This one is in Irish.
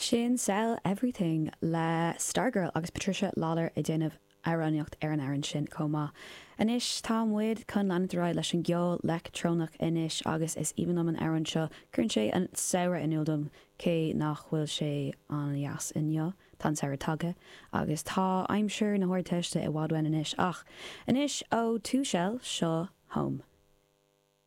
Sin Sell Everything le Stargirl agus Patricia Lawlor ag déanamh amhránaíocht ar an amhrán sin chomh maith. Anois tá muid chun leanúint ar aghaidh leis an gceol leictreonach anois agus is aoibhinn liom an amhrán seo, cuireann sé an samhradh in iúl dom cé nach bhfuil sé an-dheas inniu. Tá an samhradh tagtha agus tá aimsir na hArdteiste i bhfad uainn anois ach anois ó Two Shell, seo Home.